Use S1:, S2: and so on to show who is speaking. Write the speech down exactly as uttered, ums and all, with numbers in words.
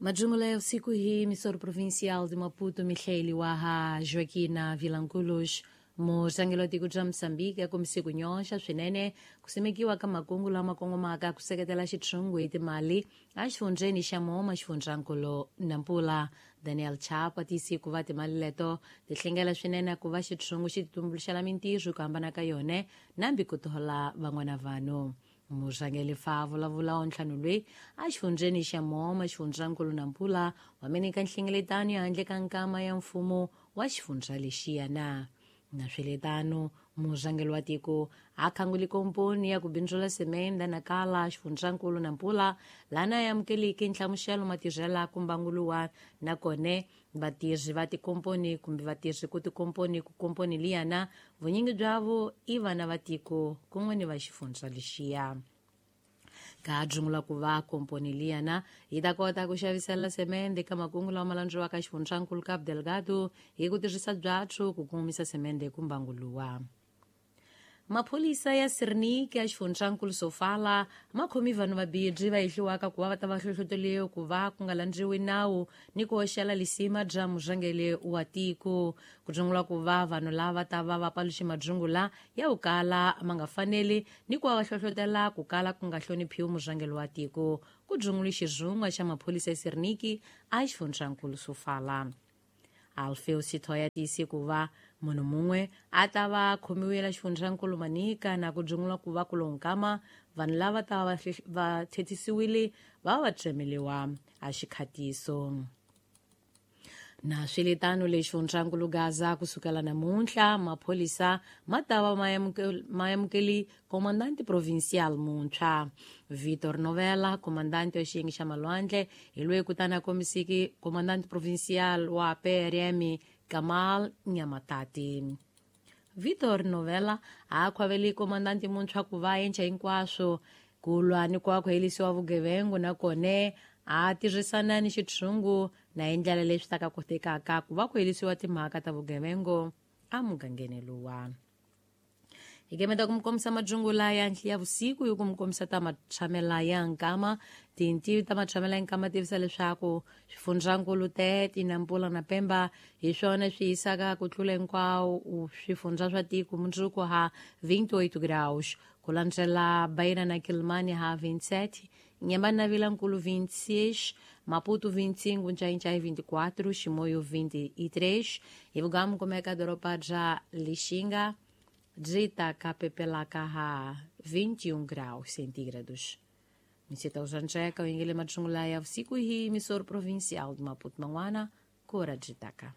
S1: Majungula ya usiku hii misoro provincial de Maputo Michele Waha Joaquina Vilanculos murhangeri wa tiko bya Mozambique akombise ku nyoxa swinene ku simekiwa ka makungu lama kongomaka ku seketela xitshungu hi timali exifundzheni xa Moma xifundzankulu Nampula. Daniel Chapo a tiyise ku va timali leto ti hlengela swinene ku va xitshungu xi titumbuluxela mintirho ku hambana ka yona nambi ku thola van'wana vanhu. Murhangeri fa vulavula wa ntlhanu loyi exifundzheni xa Moma xifundzankulu Nampula wa meneka nhlengeletano ya handle ka nkama ya mfumo wa xifundza lexiya na na swiletano murhangeri wa tiko a khanguli komponi ya ku bindzula semende na kala xifundzankulu Nampula lana ya amukeliki nhlamuselo matirhela ku mbanguluwa na kone vatirhi va tikomponi kumbe vatirhi ku tikomponi ku komponi liyana vunyingi byavo i vana va tiko kun'we ni va xifundza lexiya. Ka dzungula ku va komponi liyana yi ta kota ku xavisela semende ka makungu lawa ma landziwaka xifundzankulu Cabo Delgado hi ku tirhisa byatso ku kongomisa semende ku mbanguluwa. Maphorisa ya Sirniki ya xifundzankulu Sofala ma khomi vanhu vambirhi va hehliwaka ku va va ta va hlohloteriwe ku va ku nga landziwi nawu ni ku hoxela lisima bya murhangeri wa tiko. Ku dzungula ku va vanhu lava ta va va paluxe madzungula ya ku kala ma nga faneli ni ku va va hlohlotela ku kala ku nga hloniphiwi murhangeri wa tiko. Ku dzungule xirhungwa xa maphorisa ya Sirniki a xifundzankulu Sofala. Alfeu Sithoya tiyise ku va munhu mun'we a ta va khomiwile xifundzankulu Manica na ku dzungula ku va ku lonkama vanhu lava ta va va thethisiwile va va tsemeliwa a xikhatiso. Na swiletano lexi xifundzankulu Gaza kusukela namuntlha maphorisa ma ta va ma amukeli comandante provincial muntshwa Vitor Novela, comandante wa xiyenge xa malwandle hi loyi kutani a kombisiki comandante provincial wa P R M Kamal Nyamatati. Vitor Novela a khwaveli comandante muntshwa ku va endla hinkwaswo ku lwa ni ku va ku herisiwa vugevenga na kone a tirhisana ni xitshungu na hi ndlela leswi ta ka kotekaka ku va ku herisiwa timhaka ta vugevenga emugangeni luwa. Hi kemeta ku mi kombisa madzungula ya ya vusiku hi ku mi kombisa ta matshamela ya nkama. Tintivi ta matshamela ya nkama tivisa leswaku swifundzankulu Tete, Nampula na Pemba hi swona swi hisaka ku tlula hinkwawo swifundza swa tiko mundzuku ha vinte e oito graus, ku landzela Beira na Quelimane ha vinte e sete, Inhambane na Vilankulo vinte e seis, Maputo vinte e cinco, Nchai-Nchai vinte e quatro, Chimoio vinte e três, e Vugamu como é que a doropa já Lixinga Dzita Capepelaka ha vinte e um graus centígrados. Misita Uzancheca, o Ingele Madzungula ya usiku hii, emissor provincial de Maputo Manguana, Cora Dzitaka.